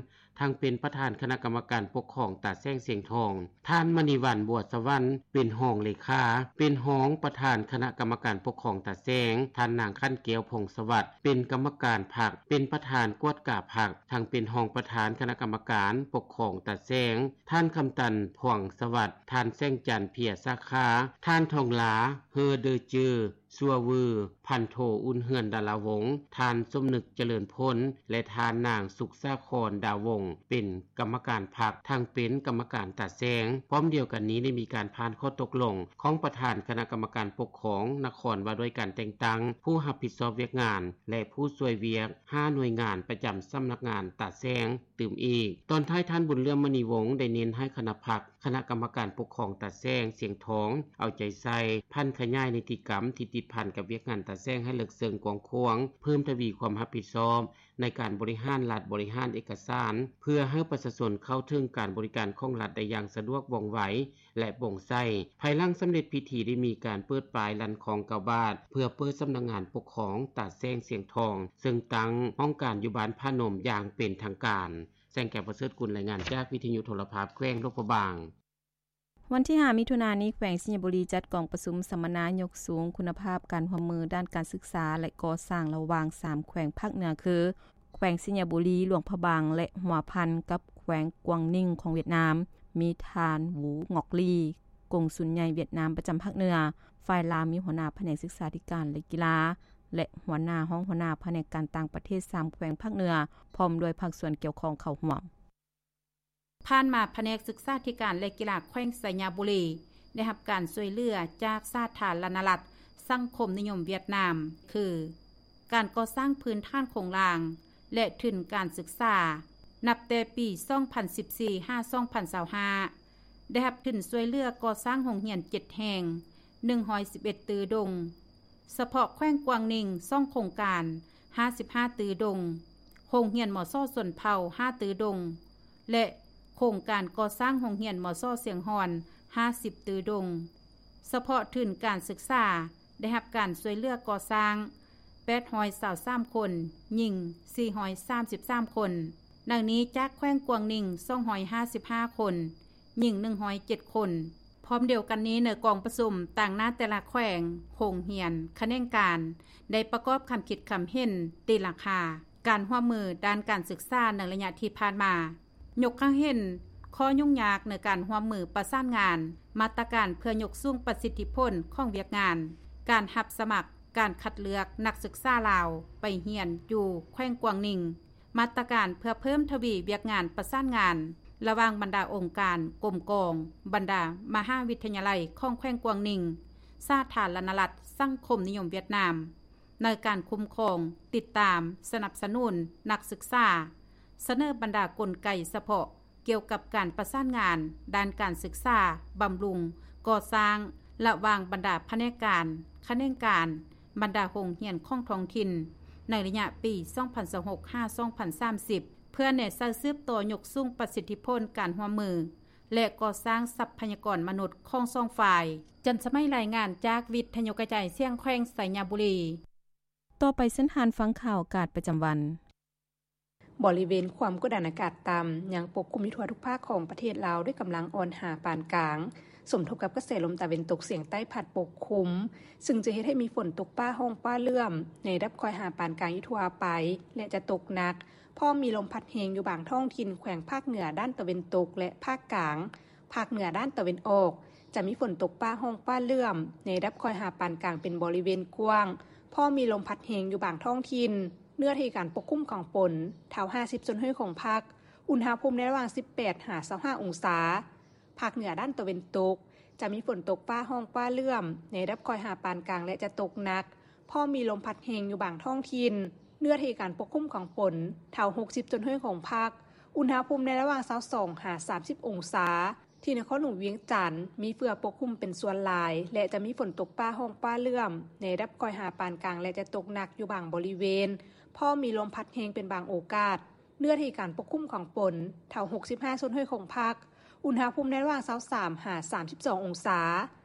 ທັງເປັນປະທານຄະນະກຳມະການປົກຄອງຕາແສງສຽງທອງ, ທ່ານ ມະນີວັນ ບົວສະຫວັນ ເປັນຮອງເລຂາ, ເປັນຮອງປະທານຄະນະກຳມະການປົກຄອງຕາແສງ, ທ່ານນາງ ຂັນແກ້ວ ພົງສະຫວັດ ເປັນກຳມະການພັກ, ເປັນປະທານກວດກາພັກ, ທັງເປັນຮອງປະທານຄະນະກຳມະການປົກຄອງຕາແສງ, ທ່ານ ຄຳຕັນ ພວງສະຫວັດ, ທ່ານ ແສງຈັນ ເພຍສາຂາ, ທ່ານ ທອງລາ ເຮີເດີເຈີ ຊົ່ວວື, ພັນໂທ ອຸ່ນເຮືອນ ດາລາວົງ, ທ່ານ ສົມນຶກ ຈະເລີນພົນ ແລະ ທ່ານນາງ ສຸກສາຄອນ ດາວົງ ເປັນກຳມະການພັກ, ທັງເປັນກຳມະການຕາແສງ. ພ້ອມດຽວກັນນີ້ ໄດ້ມີການຜ່ານຂໍ້ຕົກລົງຂອງປະທານຄະນະກຳມະການປົກຄອງນະຄອນ ວ່າດ້ວຍການແຕ່ງຕັ້ງຜູ້ຮັບຜິດຊອບວຽກງານ ແລະ ຜູ້ຊ່ວຍວຽກ ຫ້າໜ່ວຍງານປະຈຳສຳນັກງານຕາແສງ ຕື່ມອີກ. ຕອນທ້າຍ ທ່ານ ບຸນເຫຼືອມ ມະນີວົງ ໄດ້ເນັ້ນໃຫ້ຄະນະພັກ, ຄະນະກຳມະການປົກຄອງຕາແສງສຽງທອງ ເອົາໃຈໃສ່ຜັນຂະຫຍາຍນິຕິກຳທີ່ຕິດພັນກັບວຽກງານຕາແສງໃຫ້ເລິກເຊິ່ງກວ້າງຂວາງ, ເພີ່ມທະວີຄວາມຮັບຜິດຊອບໃນການບໍລິຫານລັດ, ບໍລິຫານເອກະສານ ເພື່ອໃຫ້ປະຊາຊົນເຂົ້າເຖິງການບໍລິການຂອງລັດໄດ້ຢ່າງສະດວກ, ວ່ອງໄວ ແລະ ໂປ່ງໃສ. ພາຍຫຼັງສຳເລັດພິທີ ໄດ້ມີການເປີດປ້າຍລັນຄອງເກົ້າບາດ ເພື່ອເປີດສຳນັກງານປົກຄອງຕາແສງສຽງທອງ, ເຊິ່ງຕັ້ງຫ້ອງການຢູ່ບ້ານຜານົມຢ່າງເປັນທາງການ. ແສງແກ້ວ ປະເສີດກຸນ ລາຍງານຈາກວິທະຍຸໂທລະພາບແຂວງຫຼວງພະບາງ. ວັນທີຫ້າ ມິຖຸນານີ້ ແຂວງໄຊຍະບູລີ ຈັດກອງປະຊຸມສຳມະນາຍົກສູງຄຸນນະພາບການຮ່ວມມືດ້ານການສຶກສາ ແລະ ກໍ່ສ້າງ ລະຫວ່າງສາມແຂວງພາກເໜືອ ຄື ແຂວງໄຊຍະບູລີ, ຫຼວງພະບາງ ແລະ ຫົວພັນ ກັບແຂວງກວາງນິງຂອງຫວຽດນາມ, ມີທ່ານ ຫວູ ຫງອກລີ ກົງສຸນໃຫຍ່ຫວຽດນາມປະຈຳພາກເໜືອ, ຝ່າຍລາວມີຫົວໜ້າພະແນກສຶກສາທິການ ແລະ ກິລາ ແລະ ຫົວໜ້າ, ຮອງຫົວໜ້າພະແນກການຕ່າງປະເທດສາມແຂວງພາກເໜືອ ພ້ອມດ້ວຍພາກສ່ວນກ່ຽວຂ້ອງເຂົ້າຮ່ວມ. ຜ່ານມາ ພະແນກສຶກສາທິການ ແລະ ກິລາແຂວງໄຊຍະບູລີ ໄດ້ຮັບການຊ່ວຍເຫຼືອຈາກສາທາລະນະລັດສັງຄົມນິຍົມຫວຽດນາມ ຄື ການກໍ່ສ້າງພື້ນຖານໂຄງລ່າງ ແລະ ທຶນການສຶກສາ ນັບແຕ່ປີສອງພັນສິບສີ່ ຫາ ສອງພັນຊາວຫ້າ ໄດ້ຮັບທຶນຊ່ວຍເຫຼືອກໍ່ສ້າງໂຮງຮຽນເຈັດແຫ່ງ, ໜຶ່ງຮ້ອຍສິບເອັດຕື້ດົງ, ສະເພາະແຂວງກວາງນິງ ສອງໂຄງການ ຫ້າສິບຫ້າຕື້ດົງ, ໂຮງຮຽນ ມສ ຊົນເຜົ່າ ຫ້າຕື້ດົງ ແລະ ໂຄ ໂຄງການກໍ່ສ້າງໂຮງຮຽນ ມສ ຊຽງຮ່ອນ ຫ້າສິບຕື້ດົງ. ສະເພາະທຶນການສຶກສາ ໄດ້ຮັບການຊ່ວຍເຫຼືອກໍ່ສ້າງ ແປດຮ້ອຍຊາວສາມຄົນ, ຍິງ ສີ່ຮ້ອຍສາມສິບສາມຄົນ, ໃນນີ້ຈາກແຂວງກວາງໜິງ ສອງຮ້ອຍຫ້າສິບຫ້າຄົນ, ຍິງ ໜຶ່ງຮ້ອຍເຈັດຄົນ. ພ້ອມດຽວກັນນີ້, ໃນກອງປະຊຸມຕາງໜ້າແຕ່ລະແຂວງ, ໂຮງຮຽນ, ຂະແໜງການ ໄດ້ປະກອບຄຳຄິດຄຳເຫັນຕີລາຄາການຮ່ວມມືດ້ານການສຶກສາໃນໄລຍະທີ່ຜ່ານມາ, ຍົກໃຫ້ເຫັນຂໍ້ຫຍຸ້ງຍາກໃນການຮ່ວມມືປະສານງານ, ມາດຕະການເພື່ອຍົກສູງປະສິດທິຜົນຂອງວຽກງານ, ການຮັບສະໝັກ, ການຄັດເລືອກນັກສຶກສາລາວໄປຮຽນຢູ່ແຂວງກວາງໜິງ, ມາດຕະການເພື່ອເພີ່ມທະວີວຽກງານປະສານງານລະຫວ່າງບັນດາອົງການ, ກົມກອງ, ບັນດາມະຫາວິທະຍາໄລຂອງແຂວງກວາງໜິງ, ສາທາລະນະລັດສັງຄົມນິຍົມຫວຽດນາມ ໃນການຄຸ້ມຄອງ, ຕິດຕາມ, ສະໜັບສະໜູນນັກສຶກສາ, ສະເໜີບັນດາກົນໄກສະເພາະກ່ຽວກັບການປະສານງານດ້ານການສຶກສາ, ບຳລຸງ, ກໍ່ສ້າງ ລະຫວ່າງບັນດາພະແນກການ, ຂະແໜງການ, ບັນດາໂຮງຮຽນຂອງທ້ອງຖິ່ນ ໃນໄລຍະປີສອງພັນຊາວຫົກ ຫາ ສອງພັນສາມສິບ ເພື່ອແນໃສ່ສືບຕໍ່ຍົກສູງປະສິດທິຜົນການຮ່ວມມື ແລະ ກໍ່ສ້າງຊັບພະຍາກອນມະນຸດຂອງສອງຝ່າຍ. ຈັນສະໄໝ ລາຍງານຈາກວິທະຍຸກະຈາຍສຽງແຂວງໄຊຍະບູລີ. ຕໍ່ໄປເຊີນທ່ານຟັງຂ່າວອາກາດປະຈຳວັນ. ບໍລິເວນຄວາມກົດດັນອາກາດຕ່ຳຍັງປົກຄຸມຢູ່ທົ່ວທຸກພາກຂອງປະເທດລາວດ້ວຍກຳລັງອ່ອນຫາປານກາງ, ສົມທົບກັບກະແສລົມຕາເວັນຕົກສຽງໃຕ້ພັດປົກຄຸມ, ຊຶ່ງຈະເຮັດໃຫ້ມີຝົນຕົກຟ້າຮ້ອງຟ້າເຫຼື້ອມໃນລະດັບຄ່ອຍຫາປານກາງຢູ່ທົ່ວໄປ ແລະ ຈະຕົກໜັກ, ພ້ອມມີລົມພັດແຮງຢູ່ບາງທ້ອງຖິ່ນແຂວງພາກເໜືອດ້ານຕາເວັນຕົກ ແລະ ພາກກາງ. ພາກເໜືອດ້ານຕາເວັນອອກ ຈະມີຝົນຕົກຟ້າຮ້ອງຟ້າເຫຼື້ອມໃນລະດັບຄ່ອຍຫາປານກາງເປັນບໍລິເວນກວ້າງ, ພ້ອມມີລົມພັດແຮງຢູ່ບາງທ້ອງຖິ່ນ. ເນື້ອທີ່ການປົກຄຸມຂອງຝົນ ເທົ່າຫ້າສິບສ່ວນຮ້ອຍຂອງພາກ, ອຸນຫະພູມໃນລະຫວ່າງສິບແປດຫາຊາວຫ້າອົງສາ. ພາກເໜືອດ້ານຕາເວັນຕົກ ຈະມີຝົນຕົກຟ້າຮ້ອງຟ້າເຫຼື້ອມໃນລະດັບຄ່ອຍຫາປານກາງ ແລະ ຈະຕົກໜັກ, ພ້ອມມີລົມພັດແຮງຢູ່ບາງທ້ອງຖິ່ນ. ເນື້ອທີ່ການປົກຄຸມຂອງຝົນ ເທົ່າຫົກສິບສ່ວນຮ້ອຍຂອງພາກ, ອຸນຫະພູມໃນລະຫວ່າງຊາວສອງຫາສາມສິບອົງສາ. ທີ່ນະຄອນຫຼວງວຽງຈັນ ມີເຝືອປົກຄຸມເປັນສ່ວນຫຼາຍ ແລະ ຈະມີຝົນຕົກຟ້າຮ້ອງຟ້າເຫຼື້ອມໃນລະດັບຄ່ອຍຫາປານກາງ ແລະ ຈະຕົກໜັກຢູ່ບາງບໍລິເວນ, ພ້ອມມີລົມພັດແຮງເປັນບາງໂອກາດ. ເນື້ອທີ່ການປົກຄຸມຂອງຝົນ ເທົ່າຫົກສິບຫ້າສ່ວນຮ້ອຍຂອງພາກ, ອຸນຫະພູມໃນລະຫວ່າງຊາວສາມຫາສາມສິບສອງອົງສາ.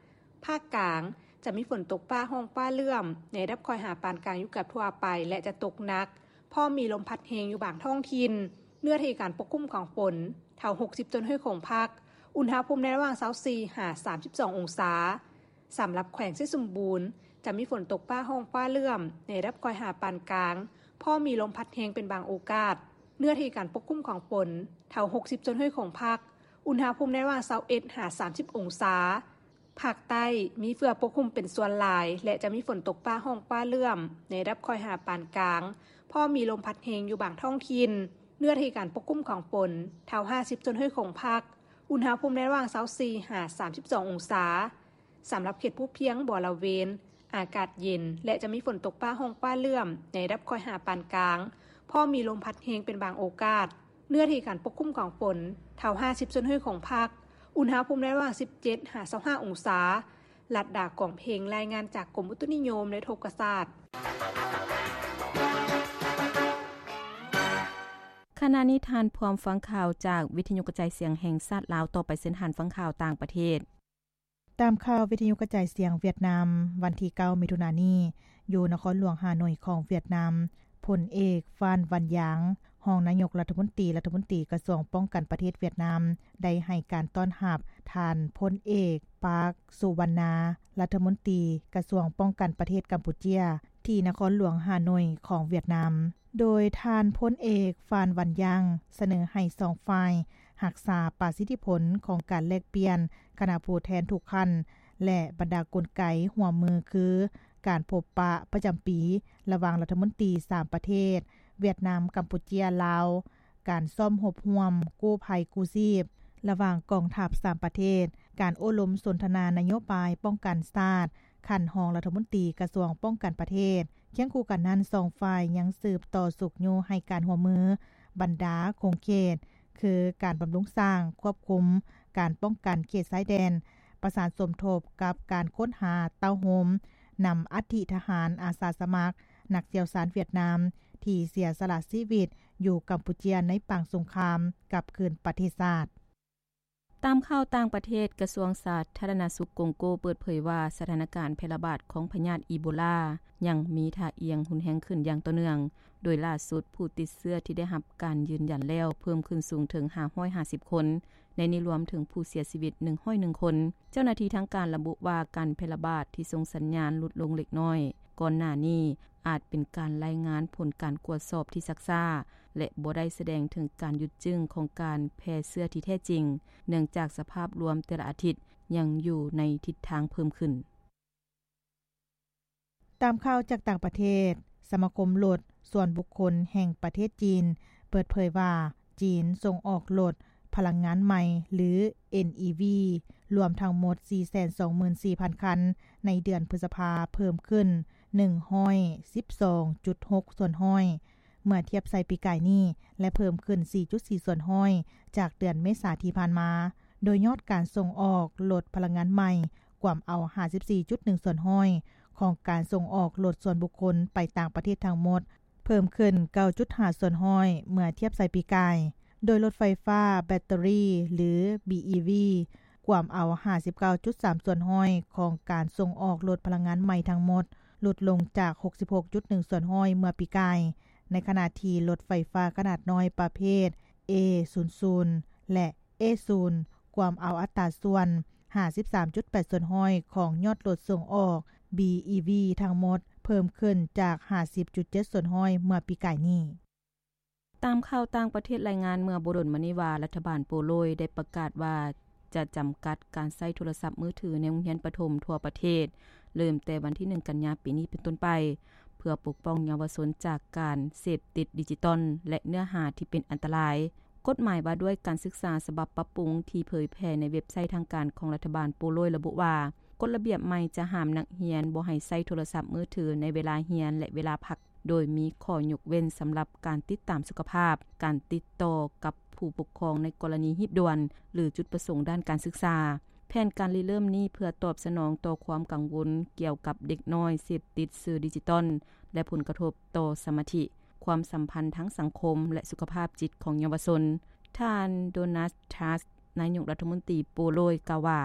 ພາກກາງ ຈະມີຝົນຕົກຟ້າຮ້ອງຟ້າເຫຼື້ອມໃນລະດັບຄ່ອຍຫາປານກາງຢູ່ເກືອບທົ່ວໄປ ແລະ ຈະຕົກໜັກ, ພ້ອມມີລົມພັດແຮງຢູ່ບາງທ້ອງຖິ່ນ. ເນື້ອທີ່ການປົກຄຸມຂອງຝົນ ເທົ່າຫົກສິບສ່ວນຮ້ອຍຂອງພາກ, ອຸນຫະພູມໃນລະຫວ່າງຊາວສີ່ຫາສາມສິບສອງອົງສາ. ສຳລັບແຂວງໄຊສົມບູນ ຈະມີຝົນຕົກຟ້າຮ້ອງຟ້າເຫຼື້ອມໃນລະດັບຄ່ອຍຫາປານກາງ, ພ້ອມມີລົມພັດແຮງເປັນບາງໂອກາດ. ເນື້ອທີ່ການປົກຄຸມຂອງຝົນ ເທົ່າຫົກສິບສ່ວນຮ້ອຍຂອງພາກ, ອຸນຫະພູມໃນລະຫວ່າງຊາວເອັດຫາສາມສິບອົງສາ. ພາກໃຕ້ ມີເຝືອປົກຄຸມເປັນສ່ວນຫຼາຍ ແລະ ຈະມີຝົນຕົກຟ້າຮ້ອງຟ້າເຫຼື້ອມໃນລະດັບຄ່ອຍຫາປານກາງ, ພ້ອມມີລົມພັດແຮງຢູ່ບາງທ້ອງຖິ່ນ. ເນື້ອທີ່ການປົກຄຸມຂອງຝົນ ເທົ່າຫ້າສິບສ່ວນຮ້ອຍຂອງພາກ, ອຸນຫະພູມໃນລະຫວ່າງຊາວສີ່ຫາສາມສິບສອງອົງສາ. ສຳລັບເຂດພູພຽງບໍລະເວນ ອາກາດເຢັນ ແລະ ຈະມີຝົນຕົກຟ້າຮ້ອງຟ້າເຫຼື້ອມໃນລະດັບຄ່ອຍຫາປານກາງ, ພ້ອມມີລົມພັດແຮງເປັນບາງໂອກາດ. ເນື້ອທີ່ການປົກຄຸມຂອງຝົນ ເທົ່າຫ້າສິບສ່ວນຮ້ອຍຂອງພາກ, ອຸນຫະພູມໃນລະຫວ່າງສິບເຈັດຫາຊາວຫ້າອົງສາ. ລັດດາ ກອງເພັງ ລາຍງານຈາກກົມອຸຕຸນິຍົມ ແລະ ອຸທົກກະສາດ. ຂະນະນີ້ທ່ານພ້ອມຟັງຂ່າວຈາກວິທະຍຸກະຈາຍສຽງແຫ່ງຊາດລາວ. ຕໍ່ໄປເຊີນທ່ານຟັງຂ່າວຕ່າງປະເທດ. ຕາມຂ່າວວິທະຍຸກະຈາຍສຽງຫວຽດນາມ ວັນທີເກົ້າ ມິຖຸນານີ້ ຢູ່ນະຄອນຫຼວງຮ່າໂນ້ຍຂອງຫວຽດນາມ, ພົນເອກ ຟານ ວັນຢາງ ຮອງນາຍົກລັດຖະມົນຕີ, ລັດຖະມົນຕີກະຊວງປ້ອງກັນປະເທດຫວຽດນາມ ໄດ້ໃຫ້ການຕ້ອນຮັບທ່ານພົນເອກ ປາກ ສຸວັນນາ ລັດຖະມົນຕີກະຊວງປ້ອງກັນປະເທດກຳປູເຈຍ ທີ່ນະຄອນຫຼວງຮ່າໂນ້ຍຂອງຫວຽດນາມ. ໂດຍທ່ານພົນເອກ ຟານ ວັນຢາງ ສະເໜີໃຫ້ສອງຝ່າຍຮັກສາປະສິດທິຜົນຂອງການແລກປ່ຽນຄະນະຜູ້ແທນທຸກຂັ້ນ ແລະ ບັນດາກົນໄກຮ່ວມມື ຄື ການພົບປະປະຈຳປີລະຫວ່າງລັດຖະມົນຕີສາມປະເທດ ຫວຽດນາມ, ກຳປູເຈຍ, ລາວ, ການຊ້ອມຮົບຮ່ວມກູ້ໄພກູ້ຊີບລະຫວ່າງກອງທັບສາມປະເທດ, ການໂອ້ລົມສົນທະນານະໂຍບາຍປ້ອງກັນຊາດ ຂັ້ນຮອງລັດຖະມົນຕີກະຊວງປ້ອງກັນປະເທດ. ຄຽງຄູ່ກັນນັ້ນ, ສອງຝ່າຍຍັງສືບຕໍ່ຊຸກຍູ້ໃຫ້ການຮ່ວມມືບັນດາຂົງເຂດ ຄື ການບຳລຸງສ້າງ, ຄວບຄຸມ, ການປ້ອງກັນເຂດຊາຍແດນ, ປະສານສົມທົບກັບການຄົ້ນຫາເຕົ້າໂຮມ, ນຳອັດຖິທະຫານ, ອາສາສະໝັກ, ນັກຊ່ຽວຊານຫວຽດນາມ ທີ່ເສຍສະຫຼະຊີວິດຢູ່ກຳປູເຈຍໃນປາງສົງຄາມກັບຄືນປະເທດຊາດ. ຕາມຂ່າວຕ່າງປະເທດ, ກະຊວງສາທາລະນະສຸກກົງໂກເປີດເຜີຍວ່າ ສະຖານະການແຜ່ລະບາດຂອງພະຍາດອີໂບລາຍັງມີທ່າອ່ຽງຮຸນແຮງຂຶ້ນຢ່າງຕໍ່ເນື່ອງ, ໂດຍລ່າສຸດຜູ້ຕິດເຊື້ອທີ່ໄດ້ຮັບການຢືນຢັນແລ້ວເພີ່ມຂຶ້ນສູງເຖິງຫ້າຮ້ອຍຫ້າສິບຄົນ, ໃນນີ້ລວມເຖິງຜູ້ເສຍຊີວິດໜຶ່ງຮ້ອຍໜຶ່ງຄົນ. ເຈົ້າໜ້າທີ່ທາງການລະບຸວ່າ ການແຜ່ລະບາດທີ່ສົ່ງສັນຍານຫຼຸດລົງເລັກນ້ອຍກ່ອນໜ້ານີ້ ອາດເປັນການລາຍງານຜົນການກວດສອບທີ່ຊັກຊ້າ ແລະ ບໍ່ໄດ້ສະແດງເຖິງການຢຸດຈຶ້ງຂອງການແຜ່ເຊື້ອທີ່ແທ້ຈິງ, ເນື່ອງຈາກສະພາບລວມແຕ່ລະອາທິດຍັງຢູ່ໃນທິດທາງເພີ່ມຂຶ້ນ. ຕາມຂ່າວຈາກຕ່າງປະເທດ, ສະມາຄົມລົດສ່ວນບຸກຄົນແຫ່ງປະເທດຈີນ ເປີດເຜີຍວ່າ ຈີນສົ່ງອອກລົດພະລັງງານໃໝ່ ຫຼື ເອັນອີວີ ລວມທັງໝົດສີ່ແສນສອງໝື່ນສີ່ພັນຄັນ ໃນເດືອນພຶດສະພາ ເພີ່ມຂຶ້ນໜຶ່ງຮ້ອຍສິບສອງຈຸດຫົກສ່ວນຮ້ອຍ ເມື່ອທຽບໃສ່ປີກາຍນີ້ ແລະ ເພີ່ມຂຶ້ນສີ່ຈຸດສີ່ສ່ວນຮ້ອຍ ຈາກເດືອນເມສາທີ່ຜ່ານມາ. ໂດຍຍອດການສົ່ງອອກລົດພະລັງງານໃໝ່ ກວມເອົາຫ້າສິບສີ່ຈຸດໜຶ່ງສ່ວນຮ້ອຍ ຂອງການສົ່ງອອກລົດສ່ວນບຸກຄົນໄປຕ່າງປະເທດທັງໝົດ, ເພີ່ມຂຶ້ນເກົ້າຈຸດຫ້າສ່ວນຮ້ອຍ ເມື່ອທຽບໃສ່ປີກາຍ. ໂດຍລົດໄຟຟ້າແບັດເຕີຣີ ຫຼື ບີອີວີ ກວມເອົາຫ້າສິບເກົ້າຈຸດສາມສ່ວນຮ້ອຍ ຂອງການສົ່ງອອກລົດພະລັງງານໃໝ່ທັງໝົດ ຫຼຸດລົງຈາກຫົກສິບຫົກຈຸດໜຶ່ງສ່ວນຮ້ອຍ ເມື່ອປີກາຍ, ໃນຂະນະທີ່ລົດໄຟຟ້າຂະໜາດນ້ອຍປະເພດ ເອສູນສູນ ແລະ ເອສູນ ກວມເອົາອັດຕາສ່ວນຫ້າສິບສາມຈຸດແປດສ່ວນຮ້ອຍ ຂອງຍອດລົດສົ່ງອອກ ບີອີວີ ທັງໝົດ, ເພີ່ມຂຶ້ນຈາກຫ້າສິບຈຸດເຈັດສ່ວນຮ້ອຍ ເມື່ອປີກາຍນີ້. ຕາມຂ່າວຕ່າງປະເທດລາຍງານເມື່ອບໍ່ດົນມານີ້ວ່າ ລັດຖະບານໂປໂລຍໄດ້ປະກາດວ່າຈະຈຳກັດການໃຊ້ໂທລະສັບມືຖືໃນໂຮງຮຽນປະຖົມທົ່ວປະເທດ ເລີ່ມແຕ່ວັນທີໜຶ່ງ ກັນຍາ ປີນີ້ເປັນຕົ້ນໄປ ເພື່ອປົກປ້ອງເຍົາວະຊົນຈາກການເສບຕິດດິຈິຕອນ ແລະ ເນື້ອຫາທີ່ເປັນອັນຕະລາຍ. ກົດໝາຍວ່າດ້ວຍການສຶກສາສະບັບປັບປຸງທີ່ເຜີຍແຜ່ໃນເວັບໄຊທາງການຂອງລັດຖະບານໂປໂລຍລະບຸວ່າ ກົດລະບຽບໃໝ່ຈະຫ້າມນັກຮຽນບໍ່ໃຫ້ໃຊ້ໂທລະສັບມືຖືໃນເວລາຮຽນ ແລະ ເວລາພັກ, ໂດຍມີຂໍ້ຍົກເວັ້ນສຳລັບການຕິດຕາມສຸຂະພາບ, ການຕິດຕໍ່ກັບຜູ້ປົກຄອງໃນກໍລະນີຮີບດ່ວນ ຫຼື ຈຸດປະສົງດ້ານການສຶກສາ. ແຜນການລິເລີ່ມນີ້ເພື່ອຕອບສະໜອງຕໍ່ຄວາມກັງວົນກ່ຽວກັບເດັກນ້ອຍເສບຕິດສື່ດິຈິຕອນ ແລະ ຜົນກະທົບຕໍ່ສະມາທິ, ຄວາມສຳພັນທາງສັງຄົມ ແລະ ສຸຂະພາບຈິດຂອງເຍົາວະຊົນ. ທ່ານ ໂດນັດ ທຣັສ ນາຍົກລັດຖະມົນຕີໂປໂລຍກ່າວວ່າ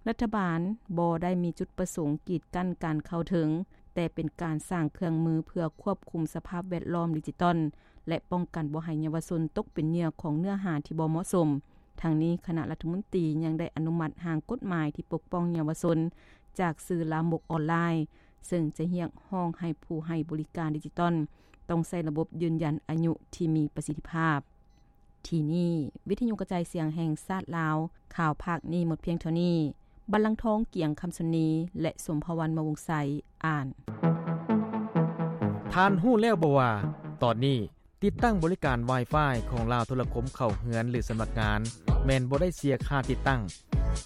ລັດຖະບານບໍ່ໄດ້ມີຈຸດປະສົງກີດກັ້ນການເຂົ້າເຖິງ, ແຕ່ເປັນການສ້າງເຄື່ອງມືເພື່ອຄວບຄຸມສະພາບແວດລ້ອມດິຈິຕອນ ແລະ ປ້ອງກັນບໍ່ໃຫ້ເຍົາວະຊົນຕົກເປັນເຫຍື່ອຂອງເນື້ອຫາທີ່ບໍ່ເໝາະສົມ. ທັງນີ້, ຄະນະລັດຖະມົນຕີຍັງໄດ້ອະນຸມັດຮ່າງກົດໝາຍທີ່ປົກປ້ອງເຍົາວະຊົນຈາກສື່ລາມົກອອນລາຍ, ເຊິ່ງຈະຮຽກຮ້ອງໃຫ້ຜູ້ໃຫ້ບໍລິການດິຈິຕອນຕ້ອງໃຊ້ລະບົບຢືນຢັນອາຍຸທີ່ມີປະສິດທິພາບ. ທີ່ນີ້ ວິທະຍຸກະຈາຍສຽງແຫ່ງຊາດລາວ, ຂ່າວພາກນີ້ໝົດພຽງເທົ່ານີ້. ບັນລັງທອງ ກຽງຄຳຊົນນີ ແລະ ສົມພະວັນ ມະວົງໄຊ ອ່ານ. ທ່ານຮູ້ແລ້ວບໍ່ວ່າ ຕອນນີ້ຕິດຕັ້ງບໍລິການ Wi-Fi ຂອງລາວໂທລະຄົມເຂົ້າເຮືອນ ຫຼື ສຳນັກງານ ແມ່ນບໍ່ໄດ້ເສຍຄ່າຕິດຕັ້ງ,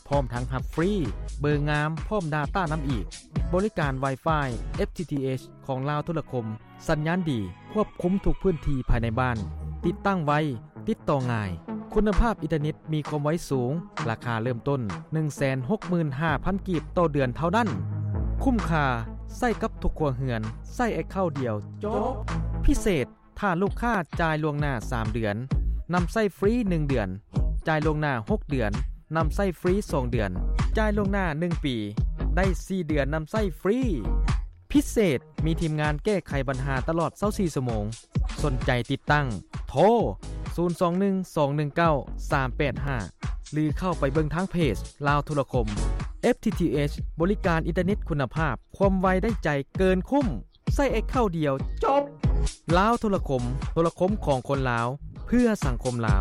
ພ້ອມທັງຮັບຟຣີເບີງາມ ພ້ອມດາຕ້ານຳອີກ. ບໍລິການ Wi-Fi ເອັຟທີທີເອັຊ ຂອງລາວໂທລະຄົມ ສັນຍານດີ, ຄວບຄຸມທຸກພື້ນທີ່ພາຍໃນບ້ານ, ຕິດຕັ້ງໄວ, ຕິດຕໍ່ງ່າຍ, ຄຸນນະພາບອິນເຕີເນັດມີຄວາມໄວສູງ, ລາຄາເລີ່ມຕົ້ນໜຶ່ງແສນຫົກໝື່ນຫ້າພັນກີບຕໍ່ເດືອນເທົ່ານັ້ນ. ຄຸ້ມຄ່າ, ໃຊ້ກັບທຸກຄົວເຮືອນ, ໃຊ້ແອັກເຄົາດຽວ, ຈົບ. ພິເສດ, ຖ້າລູກຄ້າຈ່າຍລ່ວງໜ້າສາມເດືອນ, ນຳໃຊ້ຟຣີໜຶ່ງເດືອນ, ຈ່າຍລ່ວງໜ້າຫົກເດືອນ, ນຳໃຊ້ຟຣີສອງເດືອນ, ຈ່າຍລ່ວງໜ້າໜຶ່ງປີ, ໄດ້ສີ່ເດືອນນຳໃຊ້ຟຣີ. ພິເສດ, ມີທີມງານແກ້ໄຂບັນຫາຕະຫຼອດຊາວສີ່ຊົ່ວໂມງ. ສົນໃຈຕິດຕັ້ງ? ໂທ ສູນສອງໜຶ່ງ ສອງໜຶ່ງເກົ້າ ສາມແປດຫ້າ ຫຼື ເຂົ້າໄປເບິ່ງທາງເພຈລາວໂທລະຄົມ. ເອັຟທີທີເອັຊ ບໍລິການອິນເຕີເນັດຄຸນນະພາບ, ຄວາມໄວໄດ້ໃຈເກີນຄຸ້ມ, ໃຊ້ແອັກເຄົາດຽວ, ຈົບ! ລາວໂທລະຄົມ, ໂທລະຄົມຂອງຄົນລາວ, ເພື່ອສັງຄົມລາວ.